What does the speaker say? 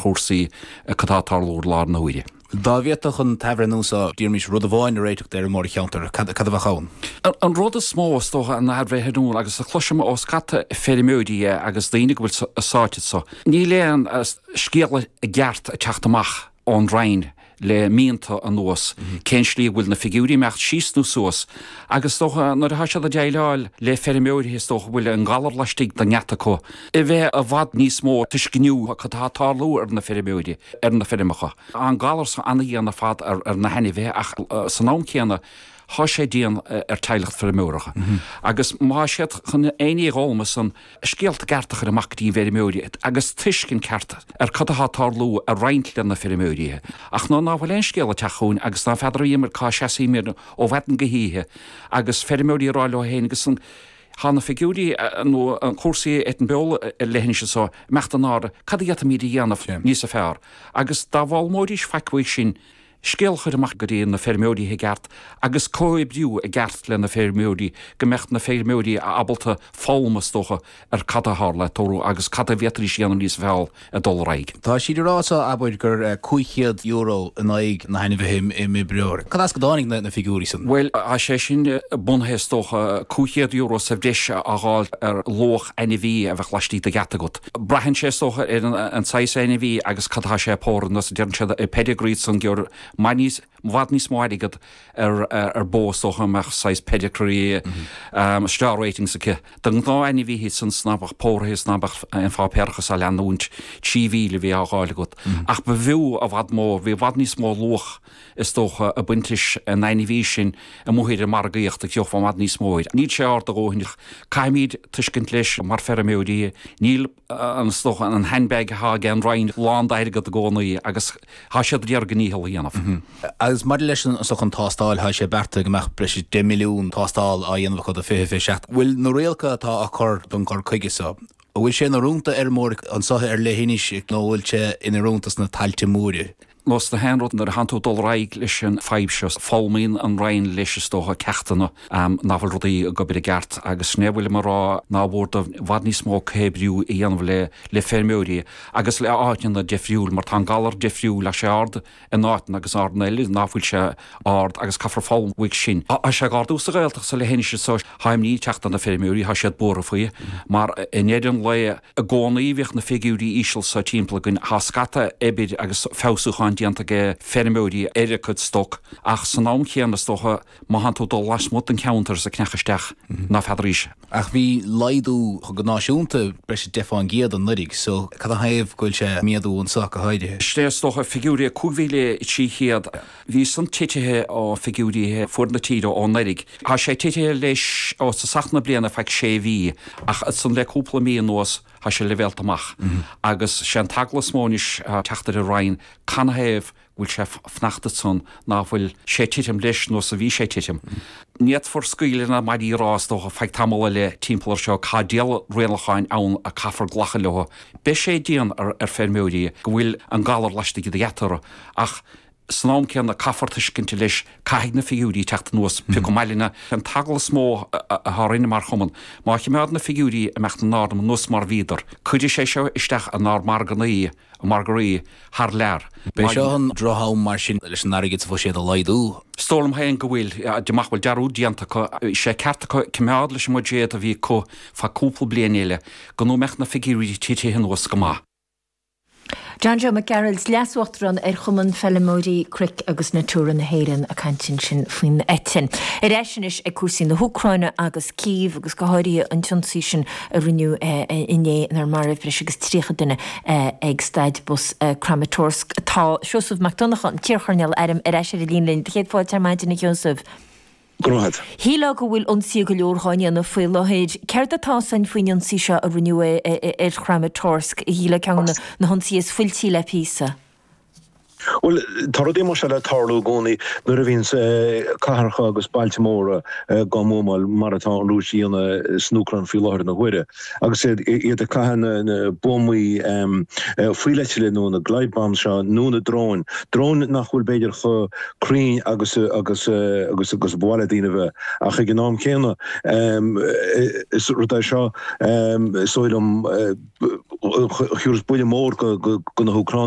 chúrsaí cad tá ag tarlú i láthair na huaire. Dá bhféadfadh an t-athbhreithniú seo, déarfaimis, rud amháin a réiteach d'fheirmeoirí an cheantair, cad a bheadh ann? An rud is mó, is dócha, an athbhreithniú, agus a chloisim ó scata feirmeoirí agus daoine go bhfuil sáite anso, níl aon scéala i gceart ag teacht amach ón Roinn le míonta anuas, cén slí a bhfuil na figiúirí ag imeacht síos nó suas, agus is dócha nuair atá siad ag déileáil le feirmeoirí is dócha go bhfuil an galar laistigh den ngeata acu, a bheith i bhfad níos mó tuisceanach cad atá ag tarlú ar na feirmeoirí, ar na feirmeacha. Tá an galar so ana-dhian ar fad ar na hainmhithe ach san am céanna tá sé dian ar teaghlach feirmeora. Agus má tá siad chun aon ní a fhoghlaim ansan, scéalta cearta a chur amach go dtí an bhfeirmeoirí agus tuiscint ceart ar cad atá ag tarlú a roinnt le na feirmeoirí. Ach nuair ná fuil aon scéal ag teacht chugainn agus ná feadar bhíomar cá seasaímid ó mhaidin go hoíche agus feirmeoirí ag rá leo féin agus an Tá na figiúirí nó an cúrsaí ar an bheol ar leithinis anso ag imeacht in airde, cad a d'fhéadfaimid a dhéanamh níosa fearr? Agus dá bhfoghlaimeoidís faic uaidh sin, scéal a chur amach go dtí na feirmeoirí i gceart agus comhoibriú i gceart le na feirmeoirí go mbeadh na feirmeoirí ábalta foghlaim is dócha ar cad a tharla ag tarlú agus cad a bhféadfaidís a dhéanamh níos fearr ag dul ar aghaidh. Tá siad ag rá so, abair, gur €500 in aghaidh na hainmhithe i mí February. Cad as go dtáinig na figiúirí san? Bhuel, tá sé sin bunaithe is dócha, €500 sa bhreis á fháil ar luach ainmhí a bheadh laistigh de gheata agat. Braitheann sé is dócha ar an saghas ainmhí agus cad atá sé ag pórú, nós a deireann siad, pedigree san gheobhair níos, i bhfad níos mó airgead ar ar bó is dócha a mbeadh saghas pedigree star ratings aici. De ghnáth-ainmhithe san 's ná beadh póraithe 's ná beadh aon pháipéarachas á leanúint, 3,000 a bhí á dh'fháil agat. Ach ba bhfiú i bhfad mó, bhí i bhfad níos mó luach is dócha ag baint leis an ainmhí sin amuigh ar an margaíocht agus gheofá i bhfad níos mó air. Níl sé ard a dhóthain ach caithfimid tuiscint leis mar feirmeoirí, níl an is dócha an handbag atá ag an Roinn lán d'airgead i gcónaí agus tá siad ag iarraidh a ndícheall a dhéanamh. Agus maidir leis an so an tástáil, tá sé beartaithe go mbeadh breis is 10 milliún tástáil á dhéanamh acu do 2027. Bhfuil na rialacha atá á cur don gcur chuige so, an bhfuil sé inoiriúnach d'fheirmeoirí anso ar leithinis nó an bhfuil sé inoiriúnach sna tailte móire? Nós na haon rud nuair a thánn tú ag dul ar aghaidh leis an fadhb seo, foghlaimíonn an Roinn leis is dócha ceachtanna nach bhfuil rudaí ag obair i gceart agus sin é a bhfuilim ag rá nár mhór dóibh i bhfad níos mó comhoibriú a dhéanamh le le feirmeoirí agus le áiteanna difriúil mar tá an galar difriúil tá sé ard in áiteanna agus áiteanna eile ná fuil sé ard agus caithfear foghlaim uaidh sin. Tá sé ag ardú sa Ghaeltacht sa leithinis so tá imní ag teacht ar na feirmeoirí, tá siad buartha faoi mar i ndeireadh an lae, I gcónaí bhíodh na figiúirí íseal so timpeall againn. Tá scata oibir agus feabhsúcháin déanta ag feirmeoirí ar a gcuid stoc ach san am chéanna is dócha má thánn tú ag dul lasmuigh den cheantar is ag creachadh isteach ná feadaraís. Ach bhí laghdú go náisiúnta breis is 10 fán gcéad anuraidh so cad 'na thaobh go bhfuil sé ag méadú anso go háirithe? Sin é is dócha figiúirí 5,300. Bhí san titithe ó figiúirí fuaid na tíre ó anuraidh. Tá sé titithe leis ó tosach na bliana feadh sé mhí ach ansan le cúpla mí anuas tá sé leibhéalta amach agus sé an t-eagla is mó anois ag teacht ar an Roinn canathaobh go bhfuil sé fanacht ansan ná fuil sé titim leis nós a bhí sé titim. Ní fhéadfar scaoileadh na maidí a rá is dócha feadh tamall eile timpeall ar seo tá diabhal rialacháin ann a caithfear glacadh leo. Beidh sé dian ar feirmeoirí go bhfuil an galar laistigh de gheata orthu ach San am céanna, caithfear tuiscint leis, caithfidh na figiúirí teacht anuas, pé chomh maith linn. An t-eagla is mó atá orainne mar chumann, má chimeád na figiúirí ag imeacht in airde nós mar bhíodar, cuirfidh sé seo isteach inár margannaí, margaí, thar lear. B'é seo an droch-am mar sin leis an airgead sa bhuiséad a laghdú. Is dóigh liom féin go bhfuil, de mach bhfuil dearúd déanta acu, sé ceart acu cimeád leis an mbuiséad a bhí acu feadh cúpla bliain eile, go mbeadh na figiúirí titithe anuas go maith. John Joe Mac Gearailt, Leas-Uachtarán ar Chumann Feilmeoirí Cnoic agus Natura na hÉireann ag caint ansin faoin eitinn. Ar ais anois ag cúrsaí na hÚcráine agus Cív agus go háirithe an t-ionsaí sin a rinneadh inné inar maraíodh breis agus 30 duine ag staid bus Kramatorsk. Tá Seosamh Mac Donncha, an t-iarchoirnéal airm, ar ais ar an líne linn. Céad fáilte ar maidin a Sheosaimh. Go raibh maith agat. Shílfeá go bhfuil ionsaithe go leor dhá ndéanamh faoi láthair. Céard atá ann faoin ionsaí seo a rinneadh ar Khramatorsk? Shílfeá ceann de na hionsaithe is fuiltí le píosa. Bhuel, tá rudaí mar seo le tarlú i gcónaí nuair a bhíonns cathracha agus bailte móra á mbuamáil mar atá an Rúis a dhéanamh san Úcráin faoi láthair na huaire. Agus iad ag caitheamh na buamaí fuíolleitile nó na glide bombs seo nó na dróin, dróin nach bhfuil b'fhéidir chomh cruinn agus agus agus agus ba mhaith le daoine a bheith ach ag an am céanna is rud é seo is dóigh liom a thabharfas buille mór do na hÚcránaigh.